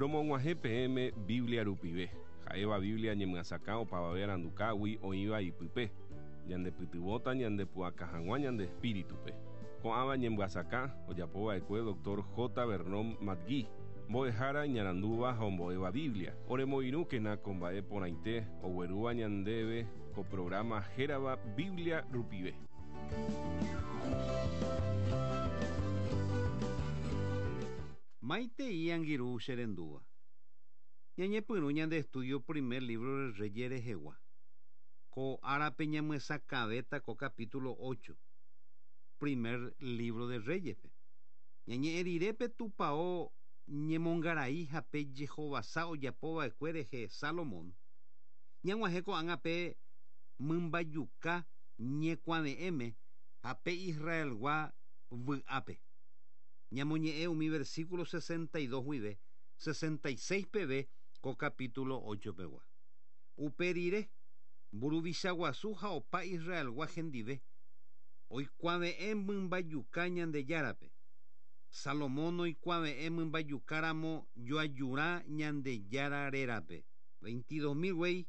Romog̃uahẽ peẽme Biblia rupive, ha'éva Biblia ñemyasakã opavave arandukágui oĩva ipype, ñandepytyvõta ñandepu'aka hag̃ua ñande espíritupe. Ko'ãva ñemyasakã ojapova'ekue Dr. J. Vernon McGee, mbo'ehára iñarandúva ha ombo'éva Biblia. Oremoirũkena ko mba'e porãite oguerúva ñandéve ko programa hérava Biblia rupive. Maitei angirũ che rendúva. Ñañepyrũ ñande estudio primer libro de Reyes rehegua. Ko árape ñamyesakãvéta ko capítulo 8, primer libro de Reyes-pe. Ñañe'ẽ rire pe tupão ñemongarai ha pe jehovasa ojapova'ekue rehe Salomón, ñag̃uahẽ ko'ág̃a pe mymbajuka ñekuave'ẽme ha pe Israelgua vy'ápe. Ñamoñe'ẽ umi versículo 62 guive 66 peve ko capítulo 8 pegua. Upe rire, mburuvicha guasu ha opa Israelgua hendive, oikuave'ẽ mymbajuka Ñandejárape. Salomón oikuave'ẽ mymbajukáramo joajurã Ñandejára rérape. 22.000 guéi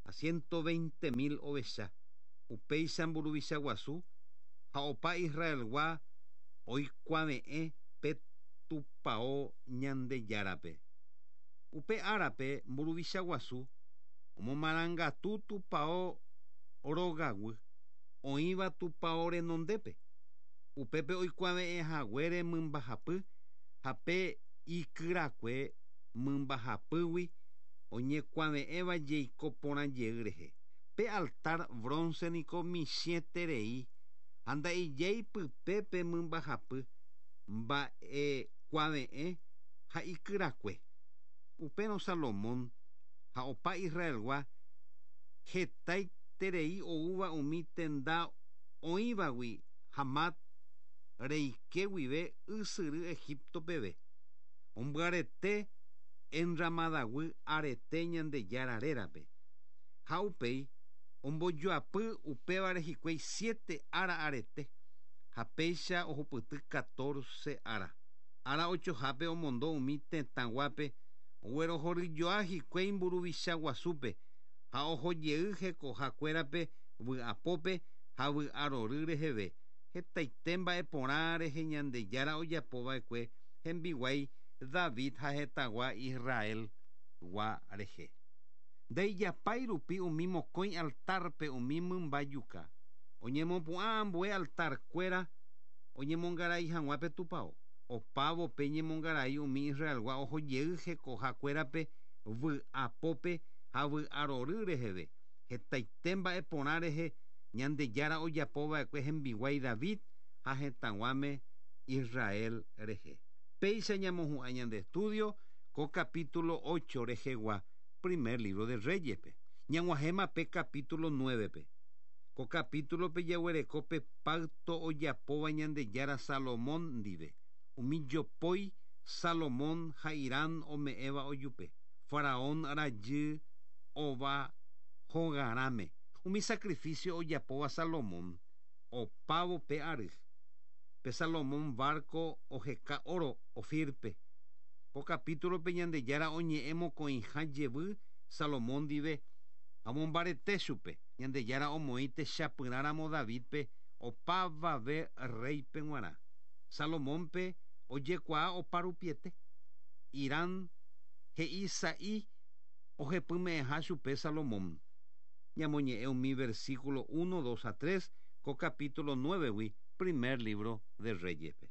ha 120.000 ovecha. Upéicha mburuvicha guasu ha opa Israelgua oikuave'ẽ pe tupão Ñandejárape. Upe árape mburuvicha guasu omomarangatu tupão rogaguy oĩva tupão renondépe. Upépe oikuave'ẽ haguére mymbahapy ha pe ikyrakue mymbahapýgui oñekuave'ẽva jeiko porã jey rehe. Pe altar bronce niko michĩeterei ha nda'ijéi pype pe mymbahapy mba'ekuave'ẽ ha ikyrakue. Upérõ Salomón ha opa Israelgua hetaiterei oúva umi tenda oĩvagui Hamat reike guive ysyry Egipto peve. Ombyarete enramadaguy arete Ñandejára rérape. Ha upéi ombojoapy upévare hikuái 7 ára arete ha péicha ohupyty 14 ára. Ára ochohápe omondo umi tetãguápe oguerohoryjoa hikuái mburuvicha guasúpe ha ohojey hekohakuérape vy'apópe ha vy'arory reheve. Hetaite mba'e porã rehe Ñandejára ojapova'ekue hembiguái David ha hetãgua Israelgua rehe. Ndaijapái rupi umi mokõi altarpe umi mymbajuka. Oñemopu'ã ambue altarkuéra oñemongarai hag̃ua pe tupão. Opávo pe ñemongarai umi Israelgua ohojey hekohakuérape vy'apópe ha vy'arory reheve. Hetaite mba'e porã rehe Ñandejára ojapova'ekue hembiguái David ha hetãguáme Israel rehe. Péicha ñamohu'ã ñande estudio ko capítulo 8 rehegua primer libro de Reyes-pe. Ñag̃uahẽma pe capítulo 9-pe. Ko capítulo-pe jaguereko pe pacto ojapóva Ñandejára Salomón ndive. Umi jopói Salomón ha Hirán ome'ẽva ojupe. Faraón rajy ova hogarãme. Umi sacrificio ojapóva Salomón opávo pe ary. Pe Salomón barco oheka oro Ofirpe. Ko capítulo-pe Ñandejára oñe'ẽ mokõiha jevy Salomón ndive ha omombarete chupe. Ñandejára omoĩ techapyrãramo Davidpe opavave rréipe g̃uarã. Salomónpe ojekuaa opa rupiete. Hirán he'i sa'i ohepyme'ẽha chupe Salomón. Ñamoñe'ẽ umi versículo 1, 2 ha 3 ko capítulo 9-gui primer libro de Reyes-pe.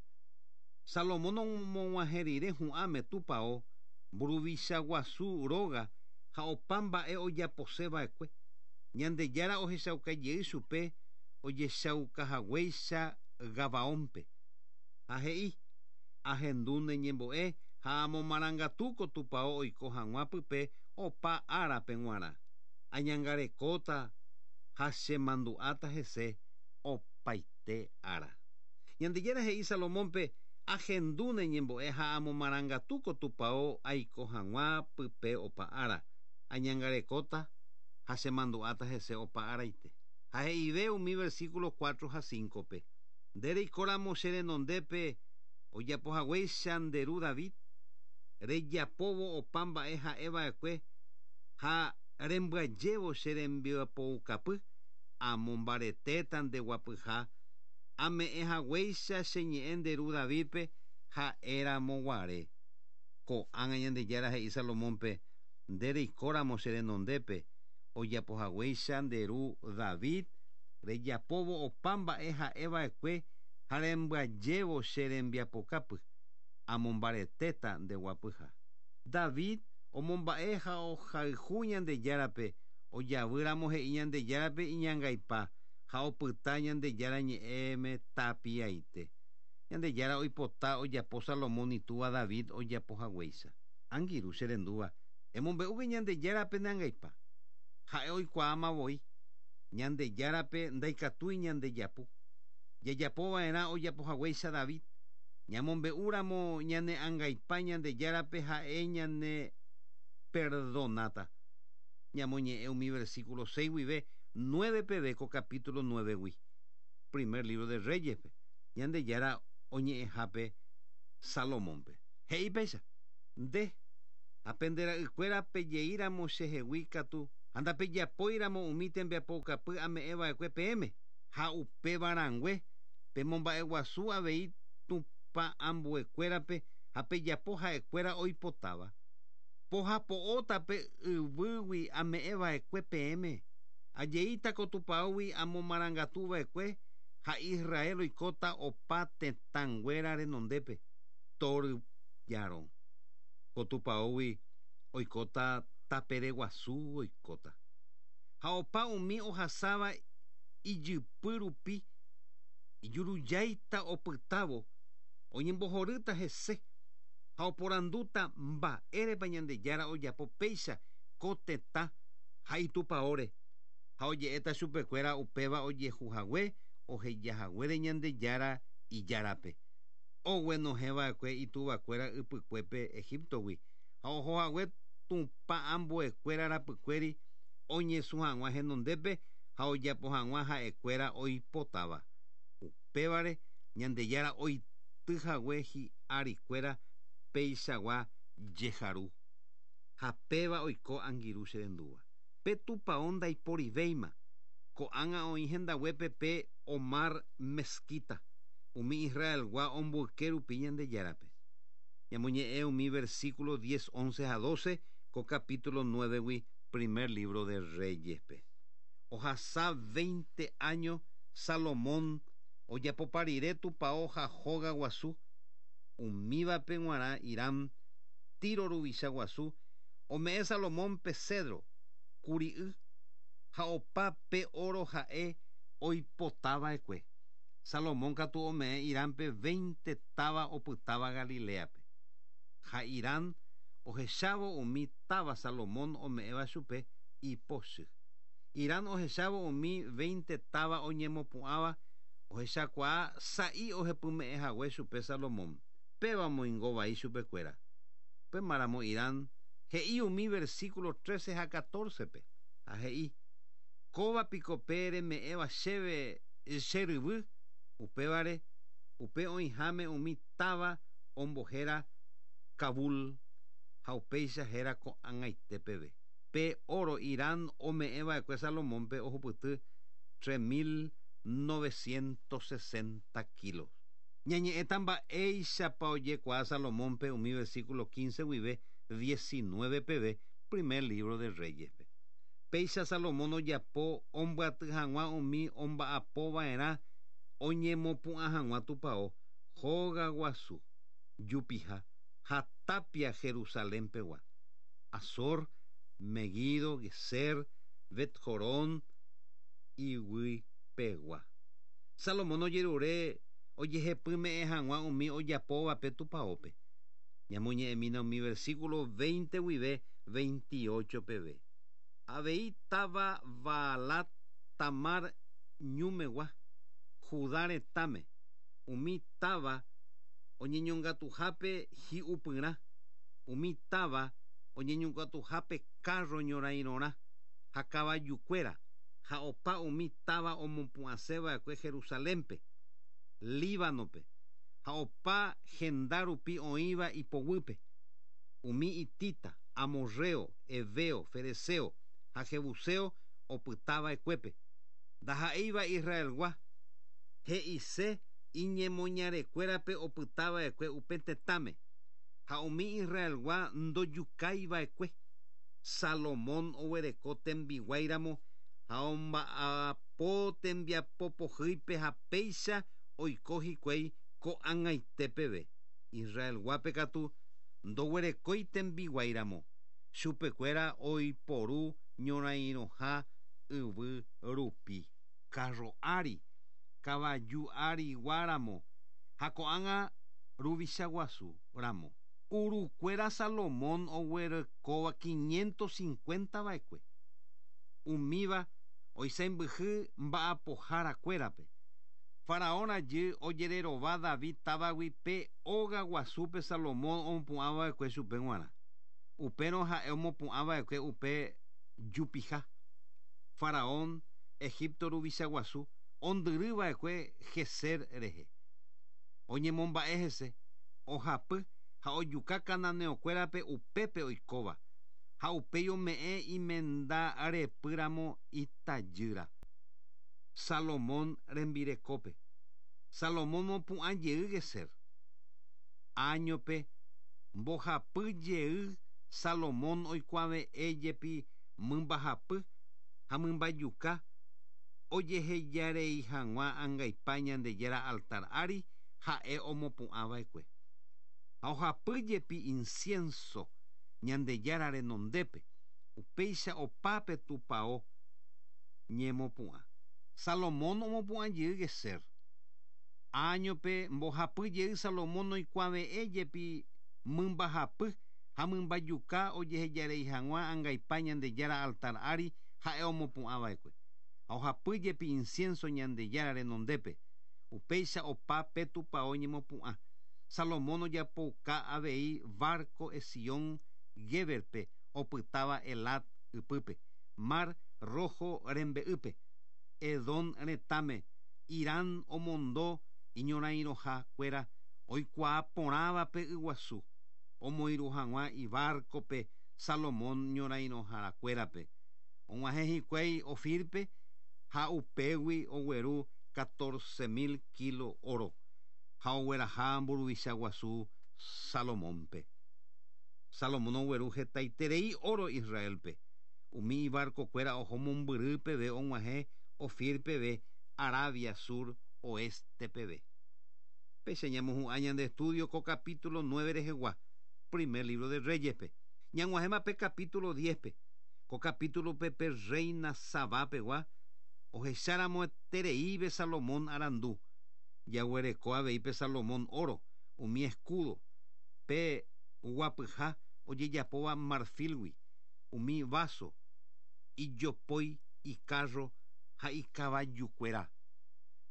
Salomón omog̃uahẽ rire hu'ãme tupão mburuvicha guasu róga ha opa mba'e ojaposeva'ekue. Ñandejára ohechauka jey chupe ojechaukahaguéicha Gabaónpe. Ha he'i, ahendu ne ñembo'e ha amomarangatu ko tupão oiko hag̃ua pype opa árape g̃uarã. Añangarekóta ha chemandu'áta hese opaite ára. Ñandejára he'i Salomónpe, ahendu ne ñembo'e ha amomarangatu ko tupão aiko hag̃ua pype opa ára. Añangarekóta ha chemandu'áta hese opa áraite. Ha he'ive umi versículo 4 ha 5-pe. Nde reikóramo che renondépe ojapohaguéicha nde ru David, Rejapóvo opa mba'e ha'eva'ekue ha rembyajévo che rembiapoukapy, amombaretéta nde guapyha, ame'ẽ haguéicha che ñe'ẽ nde ru Davídpe ha'éramo guare. Ko'ág̃a Ñandejára he'i Salomónpe, Nde reikóramo che renondépe, ojapo haguéicha nde ru David, rejapóvo opa mba'e ha'eva'ekue ha rembyajévo che rembiapokapy, amombaretéta nde guapyha. David omomba'e ha ohayhu Ñandejárape, ojavy ramo he'i Ñandejárape iñangaipa ha opyta Ñandejára ñe'ẽme tapiaite. Ñandejára oipota ojapo Salomón itúva David ojapo haguéicha. Angirũ che rendúva, emombe'úke Ñandejárape ne angaipa. Ha'e oikuaáma voi. Ñandejárape ndaikatúi ñandejapu. Jajapo va'erã ojapo haguéicha David. Ñamombe'u ramo ñane angaipa Ñandejárape ha'e ñane perdonáta. Ñamoñe'ẽ umi versículo 6 guive 9 peve ko capítulo 9-gui, Primer libro de Reyes-pe, Ñandejára oñe'ẽhápe Salomónpe. He'i péicha, Nde ha pende ra'ykuéra pejei ramo che hegui katu ha ndapejapói ramo umi tembiapoukapy ame'ẽ va'ekue peẽme, ha upéva rãngue Pemomba'eguasu avei Tupã ambuekuérape ha pejapo ha'ekuéra oipotáva. Pohapo'óta pe yvýgui ame'ẽ va'ekue peẽme. Ajeíta ko tupãógui amomarangatu va'ekue ha Israel oikóta opa tetãnguéra renondépe, tory jarõ. Ko tupãógui oikóta tapere guasu oikóta. Ha opa umi ohasáva ijypy rupi Ijurujáita opytávo, oñembohorýta hese ha oporandúta mba'érepa Ñandejára ojapo péicha ko tetã ha itupaóre, ha oje'éta chupekuéra upéva ojehu hague oheja haguére Ñandejára Ijárape, oguenohẽ va'ekue ituvakuéra ypykuépe Egíptogui ha oho hague tupã ambuekuéra rapykuéri oñesũ hag̃ua henondépe ha ojapo hag̃ua ha'ekuéra oipotáva. Upévare Ñandejára oity hague hi'arikuéra peichagua jeharu. Ha péva oiko angirũ che rendúva. Pe tupao ndaiporivéima, ko'ág̃a oĩ hendaguépe pe Omar Mezquita, umi Israelgua omboyke rupi Ñandejárape. Ñamoñe'ẽ umi versículo diez, once ha doce ko capítulo nuévegui primer libro de Reyes-pe. Ohasa veinte áño Salomón ojapopa rire tupao ha hóga guasu, umívape g̃uarã Hiram, Tiro ruvicha guasu, ome'ẽ Salomónpe cedro, kuri'y, ha opa pe óro ha'e oipota va'ekue. Salomón katu ome'ẽ Hirámpe veinte táva opytáva Galiléape. Ha Hiram ohechávo umi táva Salomón ome'ẽva chupe, ipochy. Hiram ohechávo umi veinte táva oñemopu'ãva, ohechakuaa sa'i ohepyme'ẽ hague chupe Salomón. Péva omoingo vai chupekuéra. Upémaramo Hiram he'i umi versículo trece ha catorce-pe, ha he'i, Kóva piko pe reme'ẽva chéve che ryvy? Upévare, upe oĩháme umi táva ombohéra Cabul, ha upéicha héra ko'ag̃aite peve. Pe óro Hiram ome'ẽ va'ekue Salomónpe ohupyty 3960 kilos. Ñañe'ẽta mba'éichapa ojekuaa Salomónpe umi versículo 15 guive 19 peve primer lívro de Reyes-pe. Péicha Salomón ojapo ombyaty hag̃ua umi omba'apo va'erã oñemopu'ã hag̃ua tupao, hóga guasu, jupiha ha tápia Jerusalén pegua. Azor, Meguido, Gezer, Bet-Horón, iguy pegua. Salomón ojerure ojehepyme'ẽ hag̃ua umi ojapóvape tupaópe. Ñamoñe'ẽmína umi versículo 20 guive 28 peve. Avei táva Baalat Tamar ñúmegua, Judá retãme, umi táva oñeñongatuhápe hi'upyrã, umi táva oñeñongatuhápe kárro ñorairõrã ha kavajukuéra, ha opa umi táva omopu'ãse va'ekue Jerusalénpe, Líbanope, ha opa henda rupi oĩva ipoguýpe. Umi hitita, amorreo, heveo, ferezeo ha jebuseo opytava'ekuépe. Ndaha'éiva Israelgua he'ise iñemoñarekuérape opytava'ekue upe tetãme ha umi Israelgua ndojukaiva'ekue. Salomón oguereko tembiguáiramo ha omba'apo tembiapopohýipe ha péicha oiko hikuái ko'ag̃aite peve. Israelguápe katu ndoguerekói tembiguáiramo chupekuéra oiporu ñorairõha yvy rupi. Carro ári, kavaju áriguaramo ha ko'ág̃a ruvicha guasu ramo. Urukuéra Salomón oguerekóva 550 va'ekue. Umíva oisãmbyhy mba'apoharakuérape. Faraón rajy ojererova David távagui pe óga guasúpe Salomón omopu'ãva'ekue chupe g̃uarã. Upérõ ha'e omopu'ãva'ekue upe jupiha. Faraón Egipto ruvicha guasu ondyryva'ekue Geser rehe. Oñemomba'e hese, ohapy ha ojuka cananeokuérape upépe oikóva ha upéi ome'ẽ imenda repýramo itajýra. Salomón rembirekópe. Salomón opu'ã jey Geser. Áñope mbohapy jey Salomón oikuave'ẽ jepi mymbahapy ha mymbajuka ojehejarei hag̃ua angaipa Ñandejára altar ári ha'e omopu'ãva'ekue. Ha ohapy jepi incienso Ñandejára renondépe upéicha opápe tupão ñemopu'ã. Salomón omopu'ã jey Geser. Áñope mbohapy jey Salomón oikuave'ẽ jepi mymbahapy ha mymbajuka ojehejarei hag̃ua angaipa Ñandejára altar ári ha'e omopu'ãva'ekue. Ha ohapy jepi incienso Ñandejára renondépe. Upéicha opápe tupão ñemopu'ã. Salomón ojapouka avei barco Esión Géberpe opytáva Elat ypýpe, Mar Rojo rembe'ýpe, Edom retãme, Hiram omondo iñorairõhakuéra oikuaa porãvape yguasu, omoirũ hag̃ua ibarcope Salomón ñorairõharakuérape. Og̃uahẽ hikuái Ofirpe ha upégui ogueru 14.000 kilo oro ha ogueraha mburuvicha guasu Salomónpe. Salomón ogueru hetaiterei oro Israelpe. Umi ibarcokuéra oho mombyry peve og̃uahẽ Ofir peve Arabia Sur Oeste peve. Péicha ñamohu'ã ñande estudio ko capítulo 9 rehegua, primer libro de Reyespe. Ñag̃uahẽma pe capítulo 10-pe. Ko capítulope pe reina Sabapegua ohecharamoetereíve Salomón arandu. Jaguereko avei pe Salomón oro, umi escudo, pe guapyha ojejapóva marfilgui, umi vaso, ijopói, icarro ha ikavajukuéra.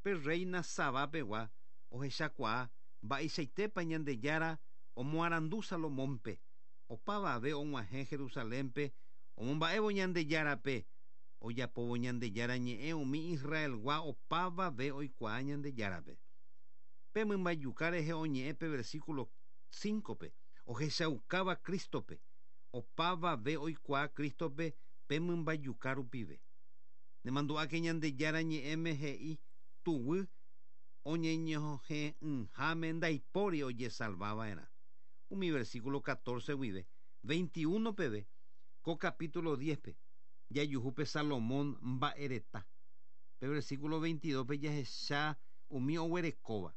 Pe reina Sabapegua ohechakuaa mba'eichaitépa Ñandejára omoarandu Salomónpe. Opavave og̃uahẽ Jerusalénpe omomba'évo Ñandejárape ojapóvo Ñandejára ñe'ẽ umi Israelgua opavave oikuaa Ñandejárape. Pe mymbajuka rehe oñe'ẽ pe versículo 5-pe ohechaukáva Cristope opavave oikuaa Cristope pe mymbajuka rupive. Nemandu'áke Ñandejára ñe'ẽme he'i tuguy oñeñohẽ'ỹháme ndaipóri ojesalvava'erã. Umi versículo 14 guive 21 peve ko capítulo 10-pe jajuhúpe Salomón mba'ereta. Pe versículo 22-pe jahecha umi oguerekóva.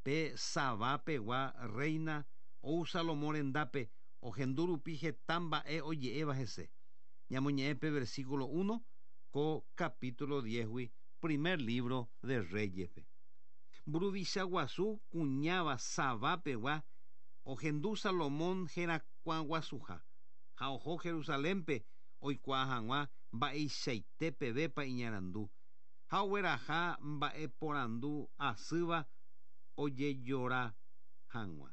Pe Sabapegua reina ou Salomón rendápe ohendu rupi heta mba'e oje'éva hese. Ñamoñe'ẽ pe versículo 1 ko capítulo 10-gui primer libro de Reyespe. Mburuvicha guasu kuñáva Sabapegua ohendu Salomón herakuãguasuha ha oho Jerusalénpe oikuaa hag̃ua mba'eichaite pevépa iñarandu ha ogueraha mba'eporandu asýva ojejora hag̃ua.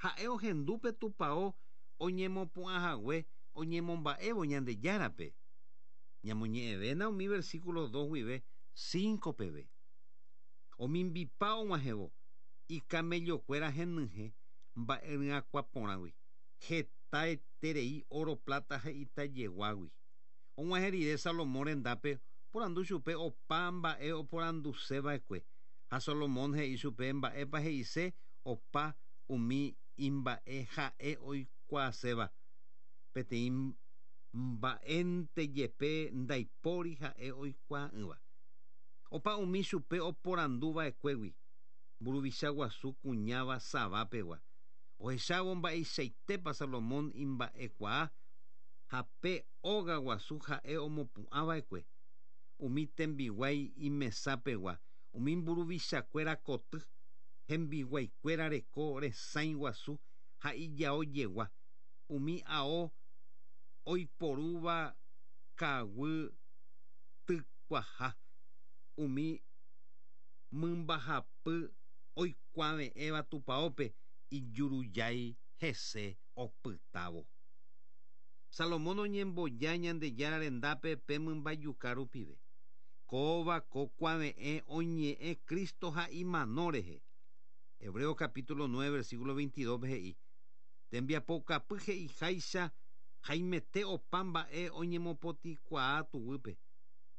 Ha'e ohendu pe tupão oñemopu'ãhague oñemomba'évo Ñandejárape. Ñamoñe'ẽvéna umi versículo 2 guive 5 peve. Omimbipa og̃uahẽvo ikamellokuéra henyhẽ mba'eryakuã porãgui. Heta Hetaiterei óro, pláta ha itajeguágui. Og̃uahẽ rire Salomón rendápe oporandu chupe opa mba'e oporanduseva'ekue. Ha Salomón he'i chupe mba'épa he'ise opa umi imba'e ha'e oikuaaséva. Peteĩ mba'énte jepe ndaipóri ha'e oikuaa'ỹva. Opa umi chupe oporanduva'ekuégui, mburuvicha guasu kuñáva Sabá pegua. Ohechávo mba'eichaitépa Salomón imba'ekuaa ha pe óga guasu ha'e omopu'ãva'ekue, umi tembiguái imesa pegua, umi mburuvichakuéra koty, hembiguaikuéra reko resãi guasu ha ijao jegua, umi ao oiporúva kaguy tykuaha, umi mymbahapy oikuave'ẽva tupaópe ijurujái hese opytávo. Salomón oñemboja Ñandejára rendápe pe mymbajuka rupive. Kóva ko kuave'ẽ oñe'ẽ Cristo ha imano rehe. Hebreo capítulo 9 versículo 22-pe he'i, Tembiapoukapy he'iháicha haimete opa mba'e oñemopotĩkuaa tuguýpe,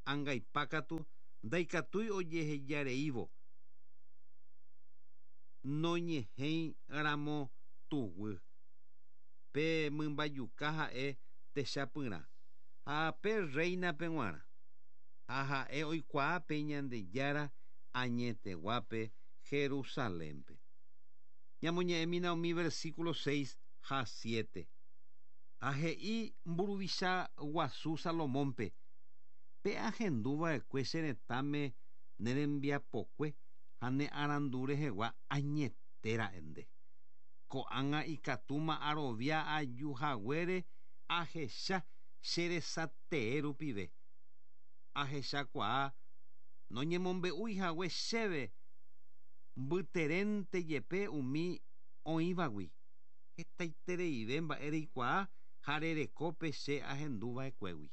angaipa katu ndaikatúi ojehejareívo noñehẽi ramo tuguy. Pe mymbajuka ha'e techapyrã ha pe rréinape g̃uarã, ha ha'e oikuaa pe Ñandejára añeteguápe Jerusalénpe. Ñamoñe'ẽmína umi versículo 6 ha 7. Ha he'i mburuvicha guasu Salomónpe, Pe ahendu va'ekue che retãme ne rembiapokue ha ne arandu rehegua añete ra'e nde. Ko'ág̃a ikatúma arovia aju haguére ahecha che resatee rupive. Ahechakuaa noñemombe'úi hague chéve mbyterénte jepe umi oĩvagui, hetaitereive mba'e reikuaa ha rereko pe che ahendu va'ekuégui.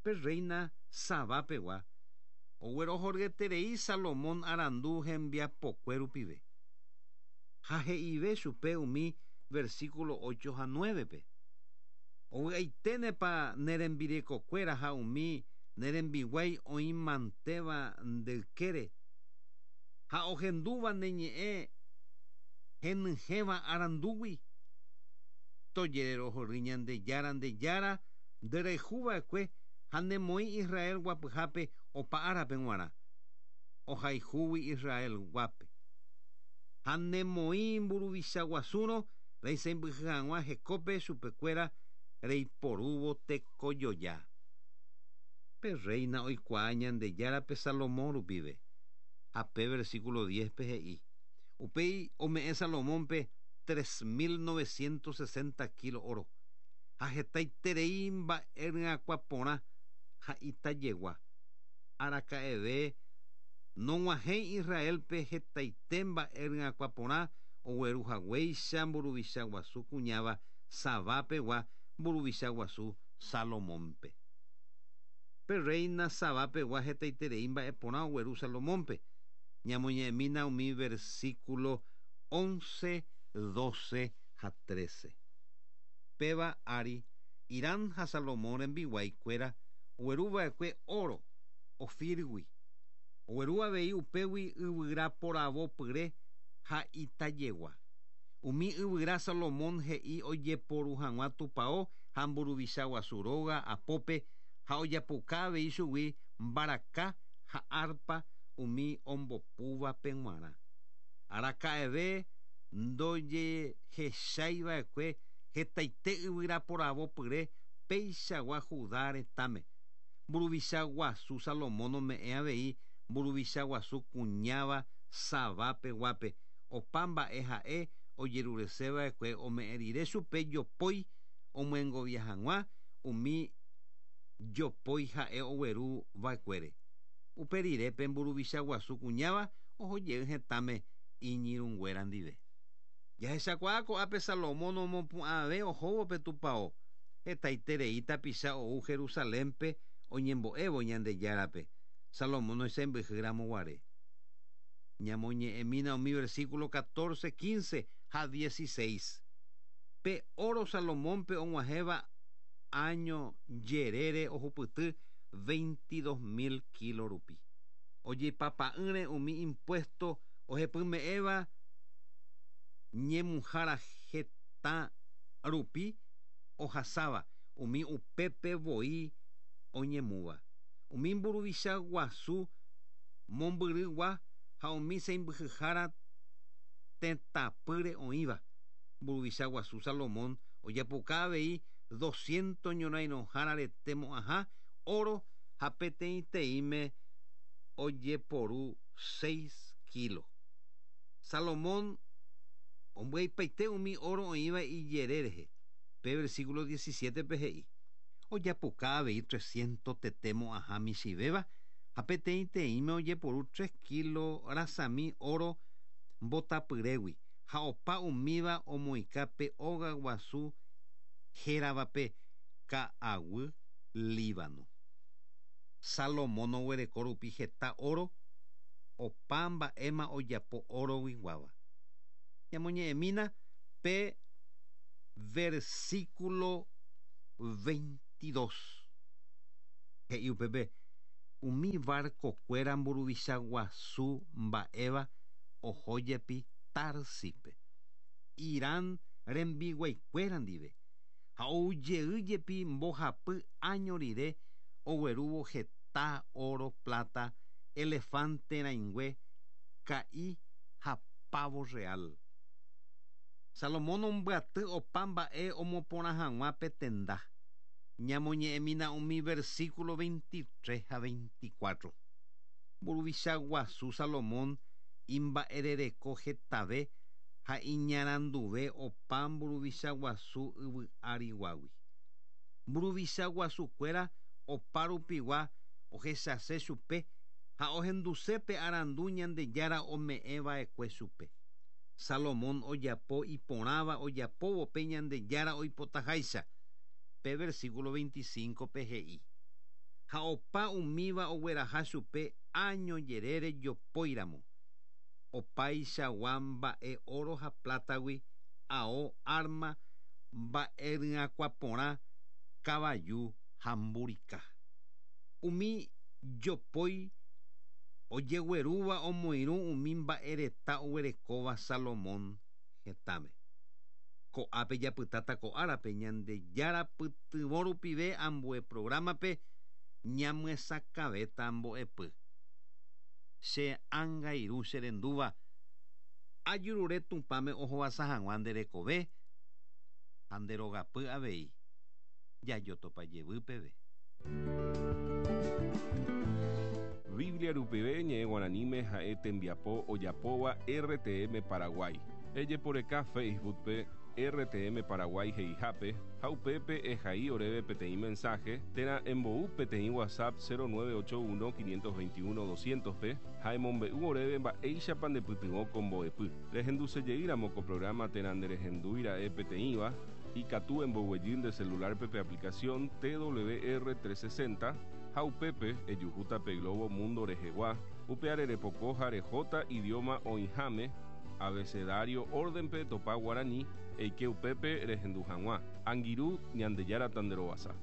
Pe rréina Sabá pegua oguerohoryeterei Salomón arandu hembiapokue rupive. Ha he'ive chupe umi versículo ocho ha nuévepe, Ovy'aiténepa ne rembirekokuéra ha umi ne rembiguái oĩmantéva nde ykére ha ohendúva ne ñe'ẽ henyhẽva arandúgui? Tojererohory Ñandejára nde Jára nde rayhu va'ekue ha nemoĩ Israel guapyhápe opa árape g̃uarã, ohayhúgui Israel guápe. Ha nemoĩ mburuvicha guasúrõ reisãimbyhy hag̃ua hekópe chupekuéra reiporúvo tekojoja. Pe rréina oikuaa Ñandejárape Salomón rupive, ha pe versículo diézpe he'i, Upéi ome'ẽ Salomónpe 3960 kílo óro, ha hetaiterei mba'e ryakuã porã ha itajegua. Araka'eve nog̃uahẽi Israélpe hetaite mba'e ryakuã porã ogueru haguéicha mburuvicha guasu kuñáva Sabá pegua mburuvicha guasu Salomónpe. Pe rréina Sabá pegua hetaiterei mba'e porã ogueru Salomónpe. Ñamoñe'ẽmína umi versíkulo once, doce ha trece. Péva ári, Hiram ha Salomón rembiguái kuéra ogueru va'ekue óro Ofírgui. Ogueru avei upégui yvyra poravo pyre ha itajegua. Umi yvyra Salomón he'i ojeporu hag̃ua tupao ha mburuvicha guasu róga apópe ha ojapoka avei chugui mbaraka ha árpa umi ombopúvape g̃uarã. Araka'eve ndojehechái va'ekue hetaite yvyra poravo pyre peichagua Judá retãme. Mburuvicha guasu Salomón ome'ẽ avei mburuvicha guasu kuñáva Sabá peguápe, opa mba'e ha'e ojerurese va'ekue ome'ẽ rire chupe jopói omyengovia hag̃ua umi jopói ha'e ogueru va'ekuére. Upe rire pe mburuvicha guasu kuñáva oho jey hetãme iñirũnguéra ndive. Jahechakuaa ko'ápe Salomón omopu'ãve ohóvo pe tupao, hetaiterei tapicha ou Jerusalénpe oñembo'évo Ñandejárape, Salomón oisãmbyhy ramo guare. Ñamoñe'ẽmína umi versículo 14, 15 ha 16. Pe oro Salomónpe og̃uahẽva áño jerére ohupyty 22 000 kílo rupi. Ojeipapa'ỹre umi impuésto ohepyme'ẽva ñemuhára heta rupi ohasáva umi upépe voi oñemúva. Umi mburuvicha guasu mombyrygua ha umi sãimbyhyhára tetãpýre oĩva. Mburuvicha guasu Salomón ojapoka avei doscientos ñorairõhára rete mo'ãha óro ha peteĩteĩme ojeporu seis kílo. Salomón ombyaipaite umi óro oĩva ijere rehe. Pe versículo diecisiétepe he'i. Ojapoka avei trescientos tete mo'ãha michĩvéva ha peteĩteĩme ojeporu tres kílo rasami óro mbotapyrégui ha opa umíva omoĩka pe óga guasu héravape Ka'aguy Líbano. Salomón oguereko rupi heta óro, opa mba'éma ojapo óroguiguáva. Ñamoñe'ẽmína pe versículo 22. He'i upépe, Umi varkokuéra mburuvicha guasu mba'éva oho jepi Társispe, Irán rembiguaikuéra ndive, ha ou jey jepi mbohapy áño rire oguerúvo heta óro, pláta, elefánte rãingue, ka'i ha pávo rreál. Salomón ombyaty opa mba'e omoporã hag̃ua pe tenda. Ñamoñe'ẽmína umi versículo 23 ha 24. Mburuvicha guasu Salomón imba'erereko hetave ha iñaranduve opa mburuvicha guasu yvy áriguagui. Mburuvicha guasukuéra opa rupigua ohechase chupe ha ohenduse pe arandu Ñandejára ome'ẽ va'ekue chupe. Salomón ojapo iporãva ojapóvo pe Ñandejára oipotaháicha. Pe versículo 25-pe he'i, Ha opa umíva ogueraha chupe áño jerére jopóiramo, opaichagua mba'e óro ha plátagui, ao, árma, mba'eryakuã porã, kavaju ha mburika. Umi jopói ojeguerúva omoirũ umi mba'ereta oguerekóva Salomón hetãme. Ko'ápe japytáta ko árape Ñandejára pytyvõ rupive ambue prográmape ñamyesakãvéta mbo'epy. Che ánga irũ che rendúva, ajurure Tupãme ohovasa hag̃ua nde rekove ha nde rogapy avei, jajotopa jevy peve. Biblia rupive ñe'ẽ guaraníme ha'e tembiapo ojapóva RTM Paraguay. Ejeporeka Facebook-pe RTM Paraguay he'ihápe ha upépe ehai oréve peteĩ mensaje térã embou peteĩ WhatsApp 0981 521 200-pe ha emombe'u oréve mba'éichapa ndepytyvõ ko mbo'epy. Rehendusejeýramo ko programa térã nderehendúira'e peteĩva, Ikatu emboguejy nde celular-pe pe aplicación TWR 360 ha upépe ejuhúta pe globo mundo rehegua, upeare repoko ha rehóta idioma oĩháme, abecedario orden-pe etopa guarani, eike upépe rehendu hag̃ua. Angirũ, Ñandejára tanderovasa.